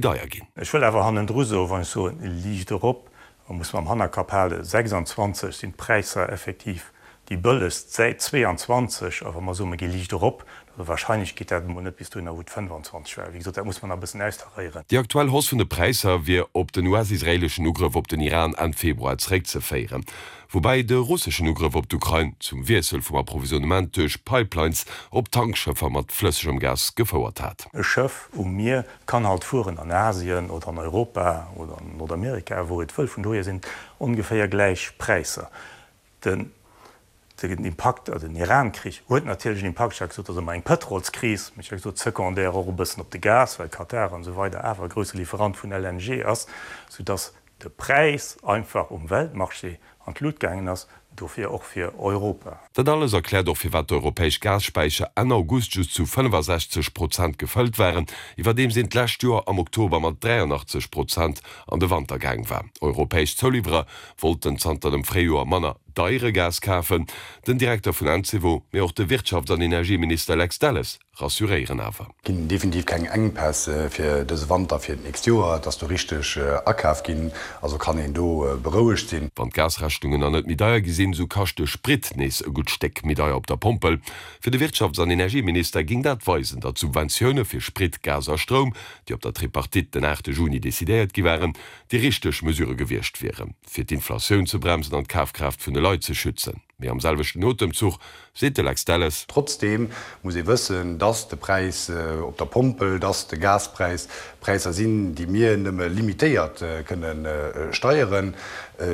deier ginn. Ech wëll awer hannendru soen, wann ech soen, liicht erop, da muss mer am Hannerkapp halen, 26 sinn d'Präisser effektiv déi bëllegst säit 22. A wa mer soen, mer gi liicht erop, also wahrscheinlech geet dat emol net bis dohinner, wou et 25 war. Wéi gesot, dat muss mer nach e bëssen austaréieren. Déi aktuell Hausse vun de Präisser wier op den US-israeeleschen Ugrëff op den Iran Enn Februar zeréckzeféieren. Woubäi de russeschen Ugrëff op d'Ukrain zum Wiessel vum Approvisionnement duerch Pipelines op Tankschëffer mat flëssegem Gas gefouert hat. E Schëff um Mier kann halt fueren an Asien oder an Europa oder an Nordamerika, wou et wëll. Vun dohier sinn et ongeféier gläich Präisser. Den Impakt, also den Iran-Krich huet natierlech en Impakt. Ech hat gesot, et ass ëmmer eng Pëtrolskris, mee ech hat gesot, secondaire och e bëssen op de Gas, well Katar an esou weider awer e grousse Lieferant vun LNG ass, soudass de Präis einfach um Weltmarché an d'Lut gaangen ass, dofir och fir Europa. Dat alles erkläert och firwat d'europäesch Gasspäicher Enn August just zu 65 Prozent gefëllt waren, iwwerdeems een d'lescht Joer am Oktober mat 83 Prozent an de Wanter gaang war. Europäesch Zouliwwerer wollten zanter dem Fréijoer manner deiere Gas kafen. Den Direkter vun Encevo, mee och de Wirtschafts an Energieminister Lex Delles rassuréieren awer. Ginn definitiv keng Engpäss fir dëse Wanter, fir d'nächst Joer. Et ass do richteg akaf ginn, also kann een do berouegt sinn. Wann d'Gasrechnungen nach net méi deier gi sinn, sou kascht de Sprit nees e gutt Stéck méi deier op der Pompel. Fir de Wirtschafts an Energieminister géing dat weisen, datt d'Subventioune fir Sprit, Gas a Stroum, déi op der Tripartite den 8 Juni decidéiert gi waren, déi richteg Mesure gewiescht wieren, fir d'Inflatioun ze bremsen an d'Kafkraaft vun de Leit ze schützen. Mee am selwechten Otemzuch seet de Lex Delles. Trotzdeem muss ee wëssen, dass de Präis op der Pompel, dass de Gaspräis Präisser sinn, déi mir nëmme limitéiert kënne steieren.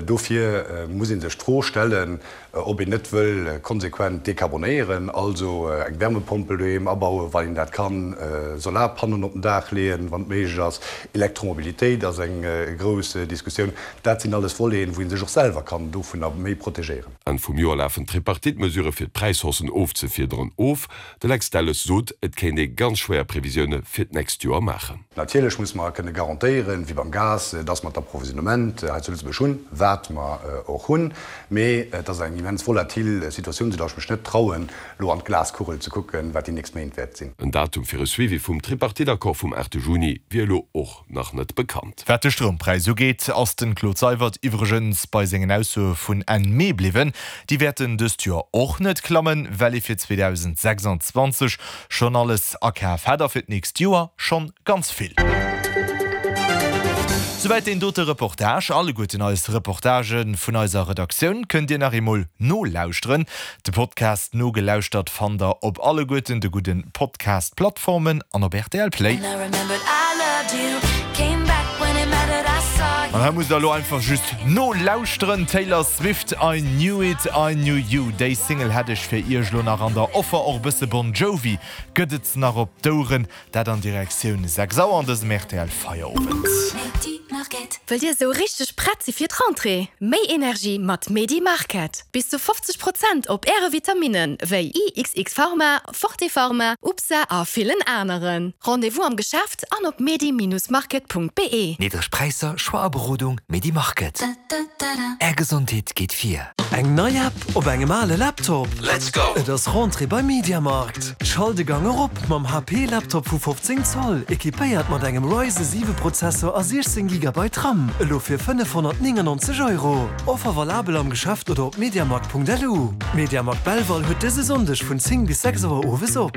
Dofir muss ee sech d'Fro stellen, ob een net wëll konsequent dekarbonéieren, also eng Wärmepompel doheem abauen, wann een dat kann, Solarpannoen op den Daach leeën, wann et méiglech ass, Elektromobilitéit ass eng grouss Diskussioun. Dat sinn alles Voleten, wou ee sech och selwer kann dovunner méi protegéieren. Enn vum Joer lafen d'Tripartite-Mesurë fir d'Präishaussen ofzefiederen of. De Lex Delles sot, et kéint ee ganz schwéier Previsioune fir d'nächst Joer maachen. Natierlech muss mer kënne garantéieren, wéi beim Gas, dass mer d'Approvisionnement hei zu Lëtzebuerg hunn, wat mer och hunn. Mee et ass eng immens volatil Situatioun, soudass ech mech net trauen, elo an d'Glaskugel ze kucken, wat déi nächst Méint wäert sinn. En Datum fir e Suivi vum Tripartite-Accord vum 8 Juni wier elo och nach net bekannt. Wat de Stroumpräis ugeet, ass den Claude Seywert iwwregens bei sengen Aussoe vun Enn Mee bliwwen. Déi wäerten dëst Joer och net klammen, well ee fir 2026 schonn alles akaf hätt a fir d'nächst Joer schonn ganz vill. Souwäit deen dote Reportage. Alleguerten eis Reportagë vun eiser Redaktioun kënnt Dir nach eemol nolauschteren. De Podcast Nogelauschtert fannt der op alleguerten de gudden Podcast-Plattformen an op rtl Play. An hei musst der elo einfach just nolauschteren, Taylor Swift, I Knew It, I Knew You. Déi Single hätt ech fir iech elo nach an der Offer. Och e bësse Bon Jovi gëtt et nach op d'Oueren. Dat an Direktioun 6 Auer an dësem rtl Feierowend. Wëllt Dir esou richteg prett si fir d'Rentrée? Méi Energie mat Medi Market! Bis zu 50 Prozent op Äre Vitaminen wéi IXX Pharma, Forte Pharma, UPSA a villen aneren. Rendez-vous am Geschäft an op medi-market.be. Niddreg Präisser, Choix a Berodung, Medi Market. Är Gesondheet geet vir. Eng nei App op engem ale Laptop? Let's go! Et ass Rentrée bei MediaMarkt. Schalt de Gang erop mam HP Laptop vu 15 Zoll, equipéiert mat engem Ryzen 7 Prozessor a 16 Gigabyte RAM, elo fir 599 Euro. Offer valabel am Geschäft oder op mediamarkt.lu. MediaMarkt Belval huet dëse Sonndeg vun 10 bis 6 Auer owes op.